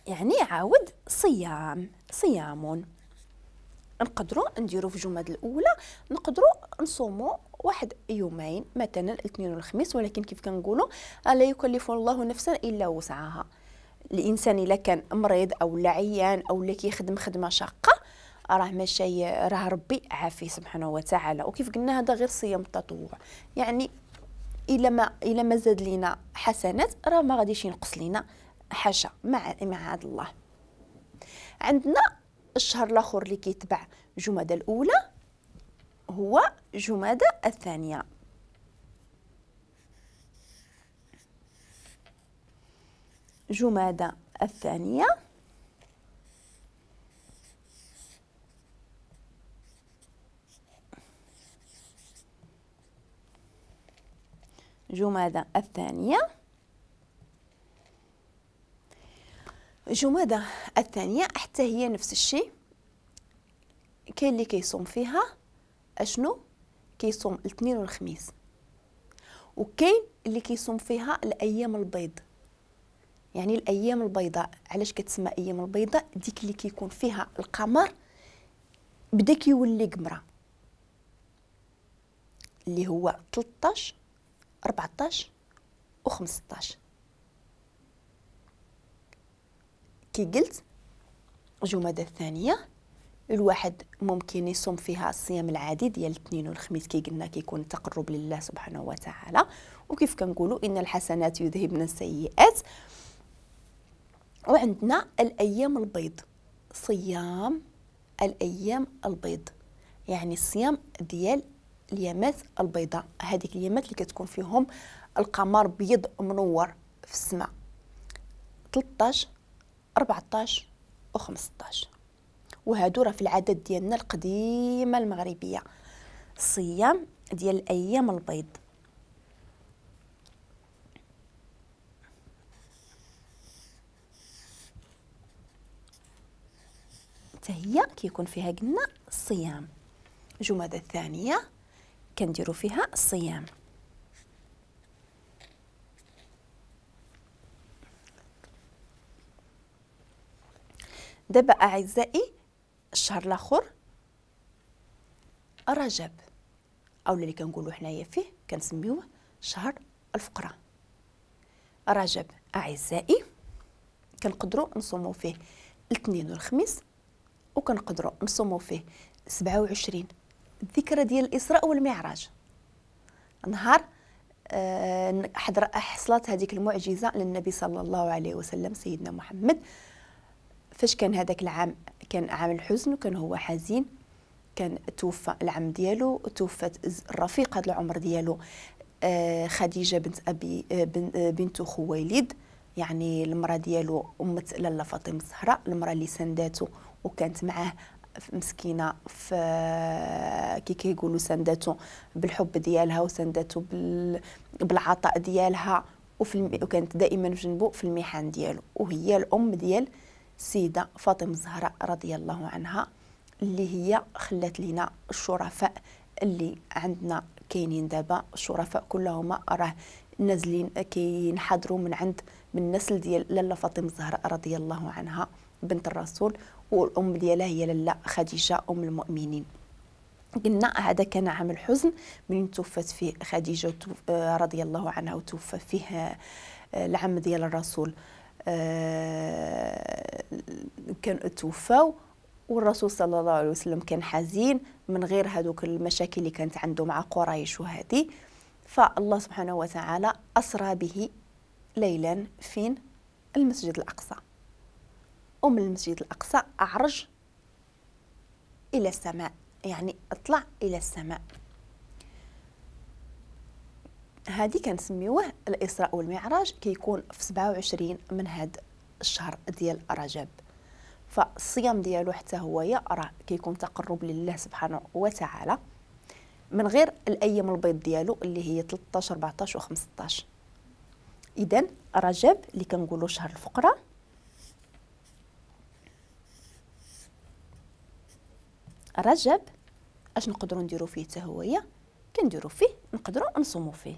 يعني عاود صيام، صيام. نقدروا نديروا في جماد الاولى، نقدروا نصوموا واحد يومين مثلا الاثنين والخميس، ولكن كيف كنقولوا لا يكلف الله نفسا الا وسعها. الانسان الا كان مريض او لا عيان او لا كيخدم خدمة شاقه راه ماشي، راه ربي عافية سبحانه وتعالى. وكيف قلنا هذا غير صيام التطوع، يعني الا ما زاد لينا حسنات راه ما غاديش ينقص لينا حاجة مع عاد الله. عندنا الشهر الاخر اللي كيتبع جمادى الاولى هو جمادى الثانية. جمادى الثانية جمادى الثانية جمادى الثانية حتى هي نفس الشيء، كاين اللي كيصوم فيها اشنو؟ كيصوم الاثنين والخميس، وكاين اللي كيصوم فيها الايام البيض، يعني الايام البيضاء. علاش كتسمى ايام البيضاء؟ ديك اللي كيكون فيها القمر بدا كيولي قمره، اللي هو 13 14 و 15. كي قلت جمادى الثانية الواحد ممكن يصوم فيها الصيام العادي ديال الاثنين والخميس، كي قلنا كيكون تقرب لله سبحانه وتعالى، وكيف كنقولوا ان الحسنات يذهبن السيئات. وعندنا الايام البيض، صيام الايام البيض، يعني الصيام ديال اليامات البيضاء، هذيك اليامات اللي كتكون فيهم القمر بيض منور في السماء، 13 14 و 15. وهادو راه في العادات ديالنا القديمة المغربية، الصيام ديال الايام البيض. حتى هي كيكون فيها قلنا الصيام. جمادى الثانية كنديروا فيها الصيام. دابا اعزائي الشهر الاخر رجب، او اللي كنقولوا حنايا فيه كنسميوه شهر الفقراء. رجب اعزائي كنقدروا نصوموا فيه الاثنين والخميس، وكنقدروا نصوموا فيه 27 الذكرى ديال الاسراء والمعراج، نهار حصلت هذيك المعجزة للنبي صلى الله عليه وسلم سيدنا محمد. فاش كان هذاك العام كان عام الحزن وكان هو حزين، كان توفى العم ديالو، توفت الرفيقه العمر ديالو خديجة بنت ابي بنت خويلد، يعني المراة ديالو امه لاله فاطمة الزهراء، المراة اللي سنداتو وكانت معاه مسكينه في كي كيقولوا سنداتو بالحب ديالها وسنداتو بالعطاء ديالها، وكانت دائما في جنبه في المحن ديالو، وهي الام ديال السيدة فاطمة الزهراء رضي الله عنها، اللي هي خلات لنا الشرفاء اللي عندنا كاينين دابا. الشرفاء كلهم راه نازلين كينحضروا من عند من النسل ديال لاله فاطمة الزهراء رضي الله عنها بنت الرسول، والام ديالها هي لاله خديجة ام المؤمنين. قلنا هذا كان عام الحزن من توفت فيه خديجة رضي الله عنها، وتوفى فيه العم ديال الرسول، كان توفاو، والرسول صلى الله عليه وسلم كان حزين من غير هذوك المشاكل اللي كانت عنده مع قريش وهذه. فالله سبحانه وتعالى أسرى به ليلا فين؟ المسجد الأقصى، ومن المسجد الأقصى أعرج إلى السماء، يعني اطلع إلى السماء. هذه كنسميوه الإسراء والمعراج، كيكون في 27 من هذا الشهر ديال رجب. فالصيام ديالو حتى هو راه كيكون تقرب لله سبحانه وتعالى، من غير الايام البيض ديالو اللي هي 13 14 و 15. اذا رجب اللي كنقولوا شهر الفقراء، رجب اش نقدروا نديروا فيه حتى هويا؟ كنديروا فيه نقدروا نصوموا فيه.